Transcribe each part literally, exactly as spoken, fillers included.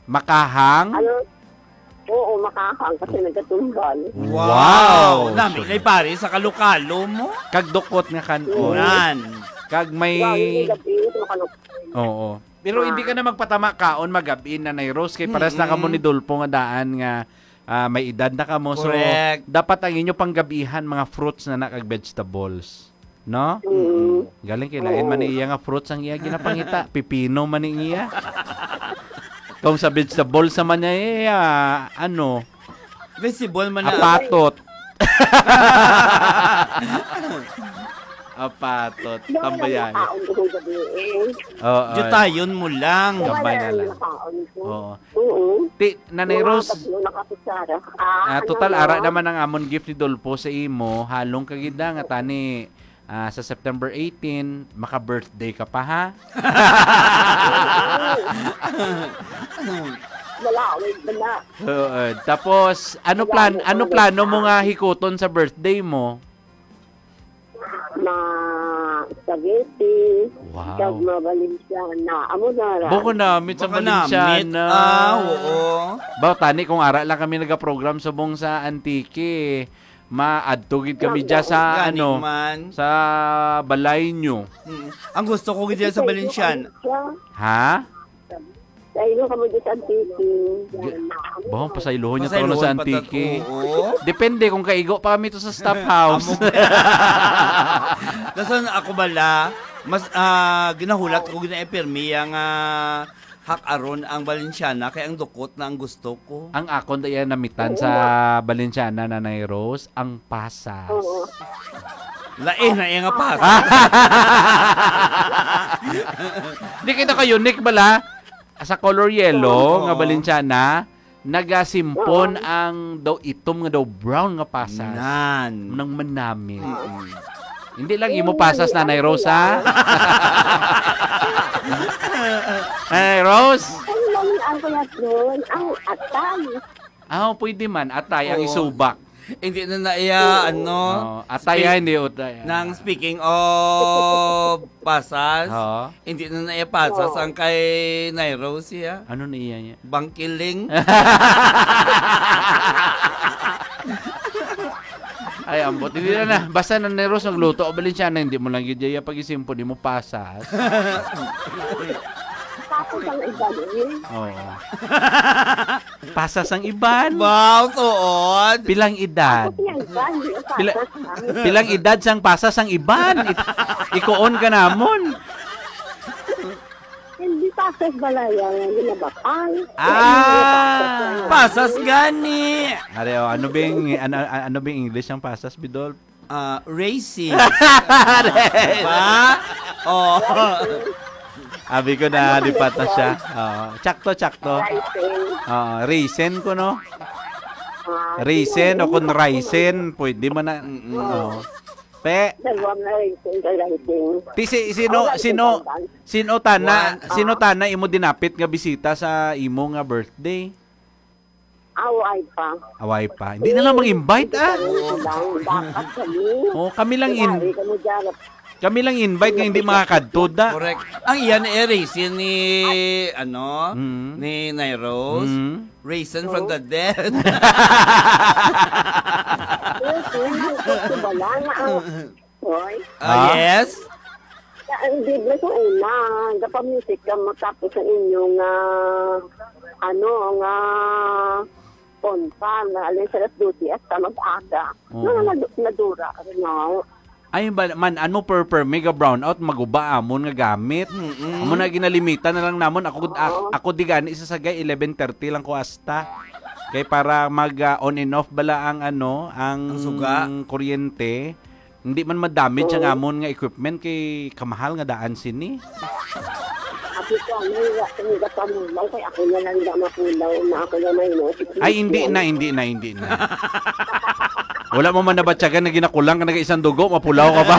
Makahang? Ano? Oo, makahang kasi nagkatumbal. Wow! Wow! Nami Sunod. Nay pare sa kalokalo mo. Kag dukot nga kan-on. Nan. Kag may Gabi, gabi, makalok. Oo. Pero hindi ka na magpatama kaon magabi, Nanay Rose, kay pares na kamo Mm-mm. ni Dolpo nga daan nga, ah, may edad na kamo. So, Correct. Dapat ang inyo panggabihan, mga fruits na na kag vegetables. No? Mm. Galing kay lain man ni Oo. iya nga fruits ang iya ginapangita. Pipino man ni iya. Kung sa vegetables naman niya, iya, ano, Visible man na. Apatot. Apatot. Wala Tambayan. Nakaon ko sa gabi eh. Oo. Jutayon mo lang. Wala Tambay na lang. Nakaon ko. Oo. Oo. Ti, Nanay Mga Rose, tatlo na kakutsara. Ah, ah, ano total, na? Ara naman ang amon gift ni Dolpo sa imo. Halong ka gid na nga tani, ah, sa September eighteen, maka-birthday ka pa, ha? Wala, wait, wala. Oo. Tapos, ano Wala, plan, wala, ano wala. Plano mo nga hikuton sa birthday mo? Ma spaghetti, Wow. kag ma Valenciana. Amo na ra. Bako namit sa Baka namit. Valenciana. Ah, oo. Ba, tani kung ara lang kami nagaprogram subong sa Antique, maadto gid kami Gani dyan sa, man. ano, sa balay nyo. Mm. Ang gusto ko gid dyan sa Valenciana. Ha? Sa ilo kamo dyan sa Antique. Bahong pasaylohon niya to, ano, sa Pasaylohon pa ta-, Antique. Oo. Depende kung kaigo pa kami to sa staff house. Amo. Dason ako bala, mas, ah, ginahulat ko, gina-, pirmi ang, ah, hak-aron ang Valenciana, kay ang dukot na ang gusto ko. Ang akon da iya namitan Oo. sa Valenciana, Nanay Rose, ang pasas. Oo. Lain na iya nga pasas. Di kita ka unique bala. Sa color yellow Oo. nga Valenciana, nagasimpon Oo. ang daw itom nga daw brown nga pasas. Nan. Nang manami. Mm. Hindi lang imo pasas, Nanay Rose, ha? Nanay Rose? Ano lang ang kuya doon? Ang atay. Ah, pwede man. Atay ang Oo. isubak. Hindi na na iya, Oo. ano, Oo. Atay, spe-, ah, hindi utay, ah. nang speaking of pasas, Oo. hindi na na iya pasas Oo. ang kay Nay Rose, ah. Ano na iya niya? Bangkiling. Ay, ambot. Hindi na na. Basta na ni Rose nagluto, o Valenciana, hindi mo lang yun iya pag-isimpo, di mo pasas. Tapos ang iba niya. Oo. Pasas ang iban. Wow, tuod. Pilang edad? Ako siya, iba, hindi yung Pila-, pasas, ah. Pilang edad sang pasas ang iban? Ik-, ikuon ka namon. Hindi pasas balaya nga ginabakal. Ah. Pasas gani. Are, oh, ano bing, ano, ano bing English ang pasas, Bidol? Ah, racist. Racist. Diba? Oh. Abi ko na, Ano di pa ta siya. pala? Oo. Tsakto, tsakto. Raisin. Oo, raisin ko, no? Ah, Raisin o kung raisin, pwede man na. Mm-mm. Oo. Pe. Dalawang raisin ka raisin. Ti si, sino, Ako lang sino, itindagan. sino tana, One. sino Ah. tana imo dinapit nga bisita sa imo nga birthday? Away pa. Away pa. Hindi na lang mag-invite, ah. Hindi pa rin sila. Dapat kami. Oh, kami lang in-, Kumari kami dyan. kami lang invite nga hindi makakadto, da. Correct. Ang iyan eh, raisin ni, ano, Mm. ni Nay Rose. Mm. Raisin from the dead. Yes, yun ang gusto ba lang? Ang Hoy. Ah, Ha? yes? Sa, ang Biblia sa una, gapa-music ka mo, tapos ang inyong, ah, ano, nga konpa, na alin sa alas dose hasta mag-aga. Oo. Nga nadu-, nadura, ano? Ay, ba, man, ano, per, per, mega brownout, maguba amon nga gamit. Mm-mm. Amo na, ginalimitan na lang namon. Ako, Oo. ak-, ako di gani sa sagay, eleven thirty lang ko hasta. Kay para mag, ah, on and off bala ang, ano, ang Ang suga. kuryente. Hindi man ma-damage ang Oo. amon nga equipment kay kamahal nga daan sini. Ako ko, ano, wa ko nga pamulaw, kay ako na lang nga mapulaw, na ako na may no. Ay, hindi na, hindi na, hindi na. Wala mo man nabatyagan na ginakulang ka na isang dugo, mapulaw ka ba?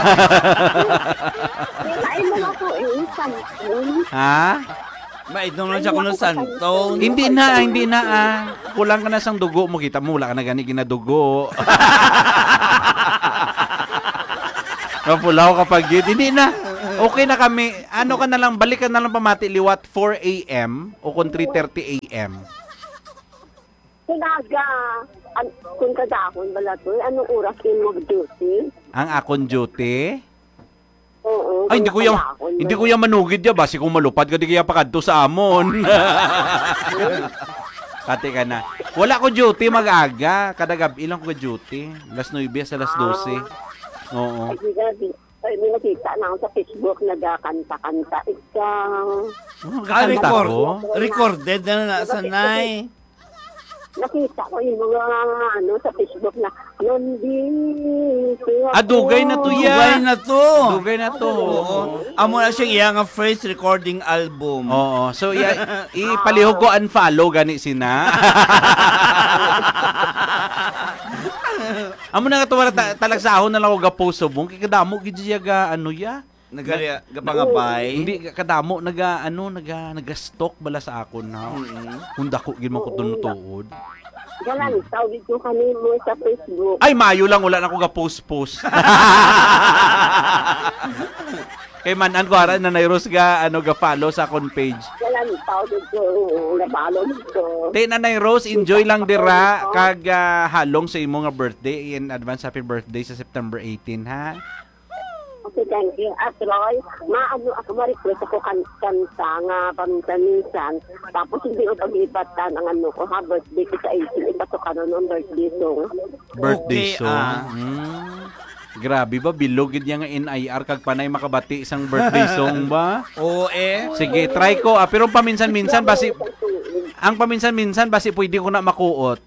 Ay, mga po, eh, isang, Ha? Mainom lang siya kuno sa Santon. Hindi na, hindi na, ah. Kulang ka na sang dugo mo, kita mo, wala ka na gani ginadugo. Mapulaw ka pa gid. Hindi na. Okay na kami. Ano ka na lang, balik ka na lang pamati liwat four a m o kung three thirty a m. Kung aga, an-, kung kadahon bala to, anong oras yung mag-duty? Ang akon duty? Oo, Ay, hindi kung ko yan, kadahon hindi bala. ko yan manugid ya. Basi kung malupad ka, di kaya pakadto sa amon. Pati ka na. Wala ko duty mag-aga. Kada gabi lang ko duty. Alas nuebe sa alas dose. Oo. Ay, di gabi. Ay, may nakita na ako sa Facebook, nagakanta-kanta. Ikaw. Oh, Ah, kakanta record. ko? Recorded na na, Nakita ko sanay. Nakita ko yung mga, ano, sa Facebook na, "Nandito ako." Ah, dugay na to, ya. Dugay na to. Dugay na to. Oo. Amo na siya iya nga first recording album. Oo. So, iya, ipalihog ko, unfollow gani sina. Amo na nga to, wala ta-, talagsahon na lang ako ga-post subong. Kay kadamo gid siya ga, ano, ya. Nagari-, Na-, gapangabay. Hindi, kadamo, naga, ano, naga, naga-stalk bala sa akon, ha. Mm. Kung dako gid man ko Oo, tunutuod. Galantaw gid ko kanimo sa Facebook. Ay, mayo lang, wala na ko ga-post-post. Kay man-an ko, ara, Nanay Rose ga, ano, ga-follow sa akon page. Galantaw gid ko, oo, na-follow gid ko. Te, Nanay Rose, enjoy lang dira, kag, ah, halong sa imo nga birthday. In advance, happy birthday sa September eighteen, ha? Okay, thank you. At Roy, maano ako, ma-request ako kan-, kanta nga paminsan-minsan. Tapos hindi ko pag-ibatan ang ano ko, ha, birthday ko sa eighteen, ipasok ka nun ang birthday song. Birthday Okay, song? ah. Hmm. Grabe ba, bilog gid niya nga N I R kag panay makabati sang birthday song ba? Oo, eh. Sige, try ko. Ah, pero paminsan-minsan, basi, ang paminsan-minsan, basi pwede ko na makuot.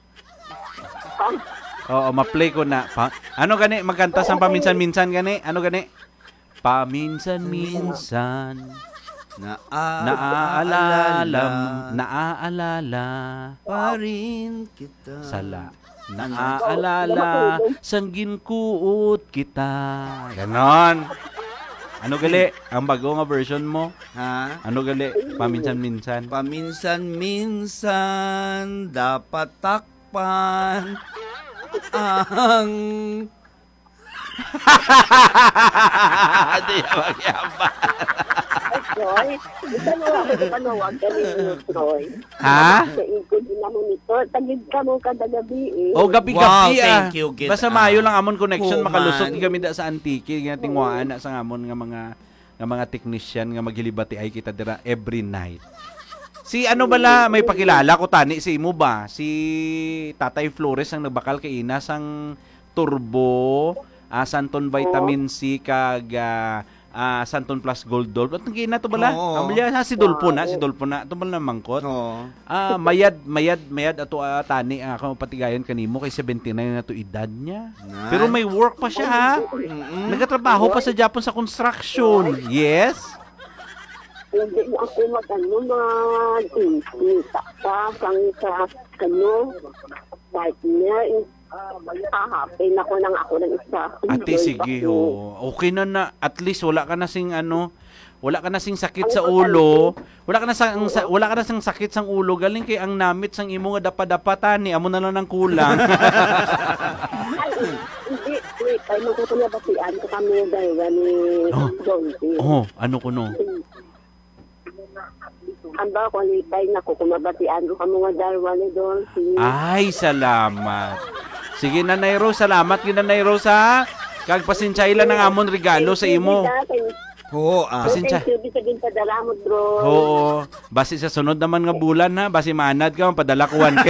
Oo, ma-play ko na. Pa-, ano gani? Magkanta sang paminsan-minsan gani? Ano gani? Paminsan-minsan. Naaalala, Naaalala. naaalala. Pa rin kita. Sala. Ano? Naaalala, sang ginkuot kita. Ganon. Ano gali? Ang bago nga version mo? Ha? Ano gali? Paminsan-minsan. Paminsan-minsan, dapat takpan ang Di na magyabang. Ay, Troy, isa na lang ako panawag ka ninyo, Troy. Ha? Sa ikod din naman ito. Tagid ka mo kada gabi, eh. Oh, gabi-gabi, Wow, ah. thank you, gid, Basta ah. maayo lang amon connection, Human. makalusot kami da sa Antique, nga tingwaan na sa amon nga mga, nga mga technician nga maghilibati ay kita dira every night. Si ano bala, may pakilala ko tani sa imo ba? Si Tatay Flores ang nagbakal kay ina sang Turbo, ah, Santon Vitamin Oo. C, kag, ah, ah, Santon Plus Gold Dolph. At ang ina to bala? Oo. Ang bala, ah, si Dolpho na, si Wow. Dolpho na. Ito bala na mangkot. Oo. Ah, mayad, mayad, mayad ato, ah, tani, ah, ako patigayon kanimo kay seventy-nine na to edad niya. Nice. Pero may work pa siya, ha? Mm-mm. Nagatrabaho pa sa Japon sa construction. Yes. Hindi na ako mag-ano, mag-impita pa sang sa, ano, partner. Kahapin ako nang ako lang isa. Ate, Enjoy sige, ako. Oo. Okay na na. At least wala ka na sing ano, wala ka na sing sakit Ano sa ang ulo. Wala ka na sa, ang sa, wala ka na sing sakit sang ulo. Galing kay ang namit sang imo nga dapa-dapa tani, amo na lang ang kulang. Ay, hindi. Wait, ay, magkukulabatian ko kami dalawa ni Oh. Don P. Oh, ano ko no? Ang ba, qualify na ko kung mabatian ko kamo nga darwa ni Dolphy. Ay, salamat. Sige, Nanay Rose, salamat gid, Nanay Rose, ha? Kag pasensyay lang ang amon regalo sa imo. Oo, ah. Pasensya. Thank you, di sa ginpadala mo, bro. Oo. Basi sa sunod naman nga bulan, ha? Basi maanad ka, padala ko one K.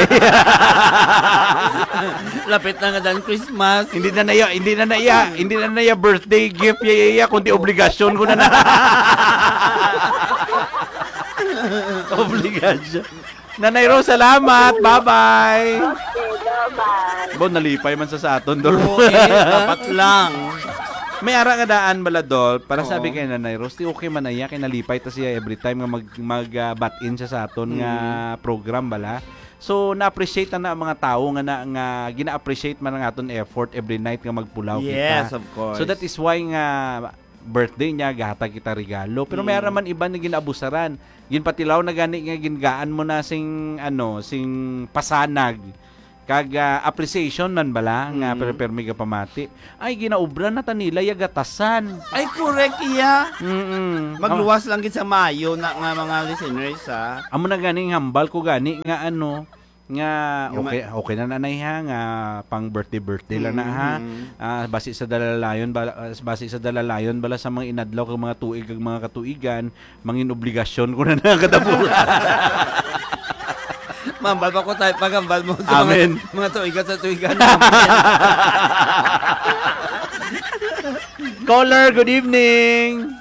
Lapit na nga dan Christmas. Hindi na na iya, hindi na na iya, hindi na na iya birthday gift, iya, iya, iya, kundi obligasyon ko na na. Obligasyon. Nanay Rose, salamat. Bye-bye. Okay, bye-bye. Bo, nalipay man sa, sa aton, Dol. Oo, eh, dapat lang. May ara nga daan bala, Dol, para sabi Oo. kay Nanay Rose, di okay man na iya, kay nalipay ta siya every time nga mag, mag, ah, bat-in siya sa aton nga Mm. program bala. So, na-appreciate na, na ang mga tawo nga na, nga gina-appreciate man ang aton effort every night nga magpulaw Yes, kita. of course. So, that is why nga birthday niya, gahatag kita regalo. Pero may Mm. ara man iba nga ginabusaran. Ginpatilaw na gani nga gingaan mo na sing, ano, sing pasanag. Kag, ah, appreciation man bala nga Mm. per-, permi ka pamati. Ay, ginaobra na ta nila ya gatasan. Ay, correct, iya. Mm-mm. Magluwas lang gid sa maayo na nga mga listeners, ha? Amo na gani ang hambal ko gani nga ano, nga Yung ma- okay, okay na nanay ha, nga pang birthday, birthday lang na ha. Mm-hmm. Ah, basi sa dalalayon bala, ah, basi sa dalalayon bala sa mga inadlaw kag mga tuig kag mga katuigan, mangin obligasyon ko na nakadabulan. Mambal pa ko tayo, pagambal mo sa mga, Amen. mga tuigan sa tuigan. Amen. Caller, good evening.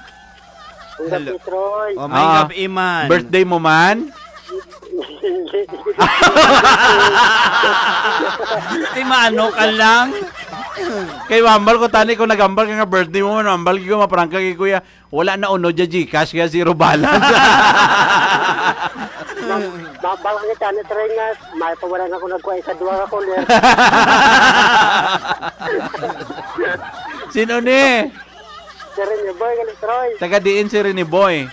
Ang Hello. gabi, Troy. Oh, may Ah, gabi man. Birthday mo man? Hindi. Ti maano ka lang? Kay mambal ko tani kung nagambal ka nga birthday mo man, mambal ko maprangka kay kuya. Wala na unod ya GCash kaya zero balance. Mambal ka kita ni Troy nga may pa wala na ko nagkuha sa duha ka caller. Sino ni? Si Rene Boy, gali, Troy. Taga diin si Rene Boy?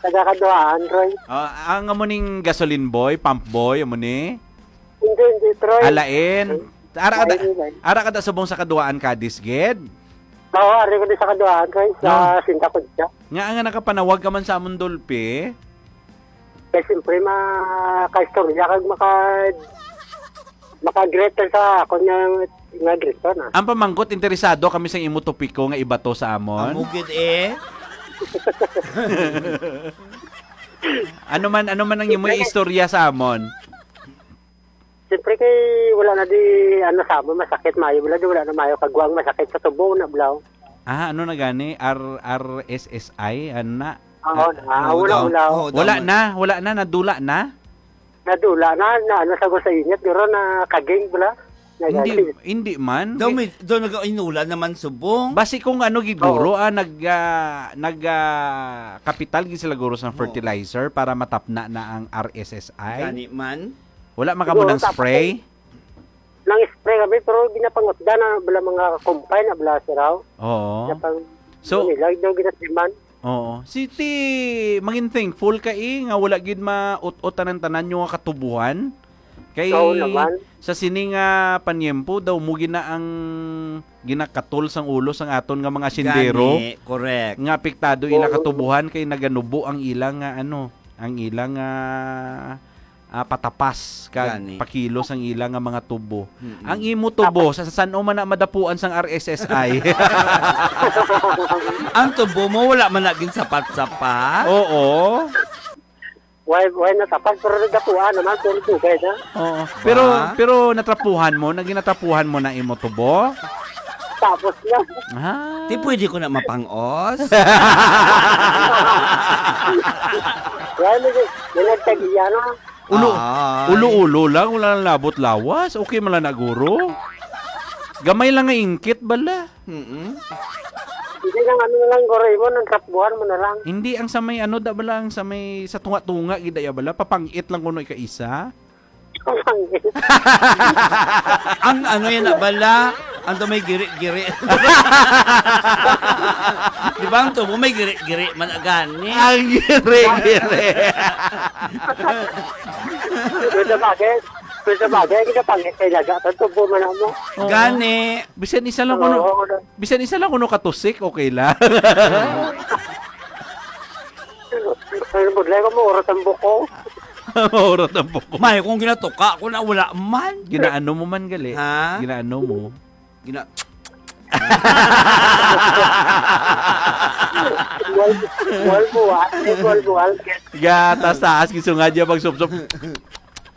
Taga Kaduhaan, Troy. Ah, ang amo ning gasoline boy, pump boy, amo ni? Hindi, hindi, Troy. Alain. Ara ka da, Lain, lain. ara ka da subong sa Kaduhaan, Cadiz, gid? Oo, ari ko di sa Kaduhaan, Troy, sa No. Sinta Kudya. Nga nga nakapanawag ka man sa amon, Dolphy? Kay siyempre, makaistorya kag maka-, maka-greet ka sa akon nga, nga greet ka na. Ang pamangkot, interesado kami sa imo topiko nga ibato sa amon. Amo gid eh. Ano man, ano man ang imo istorya sa amon? Siyempre kay wala na di, ano, sa amon masakit, mayo, wala di, wala na mayo kagwang masakit sa tubo na, blaw. Ah, ano na gani? R-, R S S I? Ano na? Oo, Ah, na, ah, wala, oo. wala. Oo, Wala tama. na, wala na, nadula na? Nadula na, na ano, sa gusto init, pero na kaging, bala. Na Hindi, gagawin. hindi man. Daw may, daw nag-inulan naman subong. Basi kung ano gid, Oo. guro, ah, nag, ah, nag, ah, kapital gid sila, guro, sa Oo. fertilizer para matapna na ang R S S I. Gani man. Wala man kamo Siguro, nang tapos spray? Nang spray kami, pero ginapangutda na bala mga kumpay na bala, sir, aw. Oo. Ginapang-, So, nila, daw ginasiman. Oo. Si ti, mangin thankful ka, eh, nga wala gid maut-ot tanan-tanan yung nga katubuhan. Kay Oo naman. sa sini nga panyempo, daw mo gina ang ginakatol sang ulo sang aton nga mga sindero Gani, correct. nga apektado ila Oo. katubuhan kay naganubo ang ila nga, ano, ang ila nga, ah, patapas kag Gani. pakilos ang ila nga mga tubo. Mm-mm. Ang imo tubo, Tapos sa san-o man na madapuan sang R S S I? Ang tubo mo, wala man na ginsapat-sapat? Oo. Why, why natapat? Pero nagdapuan naman, puro dugay na. Oo. Pero, Ba? pero natrapuhan mo, naging natrapuhan mo na imo tubo? Tapos na. Ah. Di pwede ko na mapangos? Why, may, may nagtagiya na. Ulo, Ay. ulo-ulo lang, wala nang labot lawas. Okay man lang na, guro. Gamay lang nga ingkit, bala. Mm-mm. Hindi lang, ano na lang, guro, imo, nang trapbuhan mo na lang. Hindi, ang sa may ano, da bala, ang sa may, sa tunga-tunga, gid, ya bala, papangit lang kuno ikaisa. Papangit. Ang ano yan na bala, ang to may giri-giri. Di ba ang tubo may giri-giri man agani? Ang giri-giri. Pero sa bagay, pero sa bagay, hindi ka pangit kay laga. Ang tubo man mo. Oo. Gani. Bisan isa lang kuno, Oo, wala. bisan isa lang kuno katusik, okay lang. Ano, budlay ko, maurot ang buko. Maurot ang buko. May, kung ginatuka ko na, wala man. Ginaano mo man, gali? Ha? Ginaano mo? Gina- Buwal, buwal, buwal. Buwal, buwal. Gatas taas, gisungad niya pagsupsop.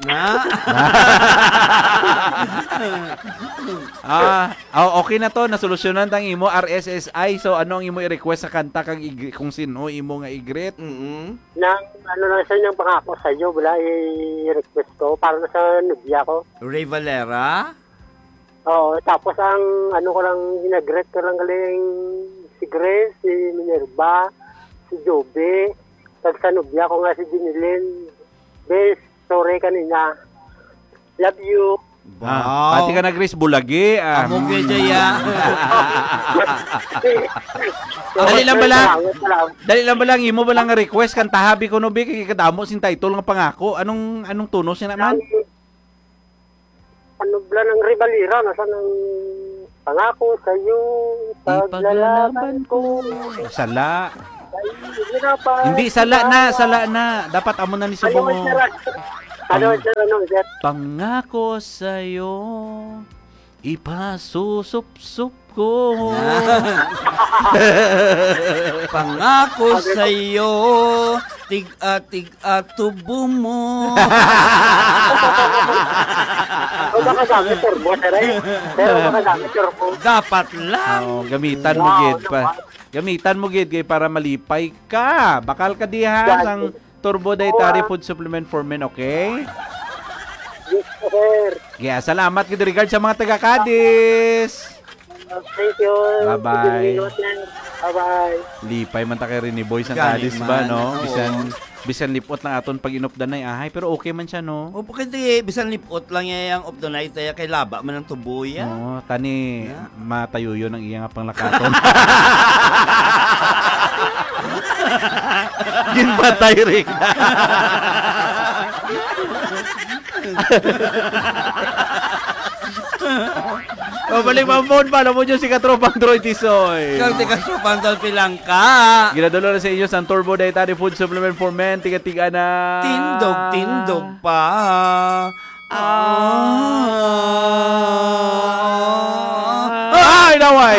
Na? Ah, oh, okay na to. Nasolusyonan tang imo R S S I. So, ano ang imo i-request sa kanta kag ig-, kung sino imo nga i-greet? Mm-mm. Nang, ano lang sa inyong pangako sa iyo, wala i-request ko para na sa nubya ko. Ray Valera? Oo, tapos ang ano ko lang, ginagreet ko lang galing si Grace, si Minerva, si Joby, kag sa nubya ko nga si Dinilin. Bes, sorry kanina. Love you. Ah, Wow. pati ka na, Grace, bulagi, ah. Amo kay Jaya. Dali lang bala. Salamat, salamat. Dali lang bala, ang imo bala nga request, kantaha bi kuno bi, kay kadamo sing title nga pangako. Anong, anong tono siya naman? Ang, Panubla ng ribalira, nasa ng pangako sa'yo, ipaglalaban ko. Sala. Ay, hirap pa. Hindi, sala na, sala na. Dapat amo na ni Ano, subong mo. Sir? Ano, Pang- Sir, ano, Sir? Pangako sa'yo, ipasusupsup ko. Pangako sa'yo, tig-a-tig-a tubo mo. O, baka gamit turbo, sir, eh. Pero baka gamit turbo. Dapat lang. Oo, gamitan mo Wow, gid pa. Naman. Gamitan mo gid kay para malipay ka. Bakal ka diha Yan. Sang Turbo Dietary Oo, ah. Food Supplement for Men, okay? Yes, sir. Yeah, salamat gid regard sa mga taga Cadiz. Thank you. Bye-bye. Sige, sir. Bye-bye. Lipay man ta kay Rene Boy sang Gani Cadiz ba, man, no? Oo. Bisan, bisan lipot lang aton pag-inupdanay, ahay, pero okay man siya, no? O, pwede, bisan lipot lang niya yung updanay, tayo kay laba man ang tubo, ya. Oo, tani, Ya. matayuyon ang iya nga panglakaton. Ginpatay, Rick. O, balik, Mamon, follow mo dyan si Katropang Troy Tisoy. Kag si Katropang Dolphy Langka. Ginadala na sa inyo sang Turbo Dietary Food Supplement for Men, tiga-tiga na. Tindog, tindog pa. Ah. Ay, naway!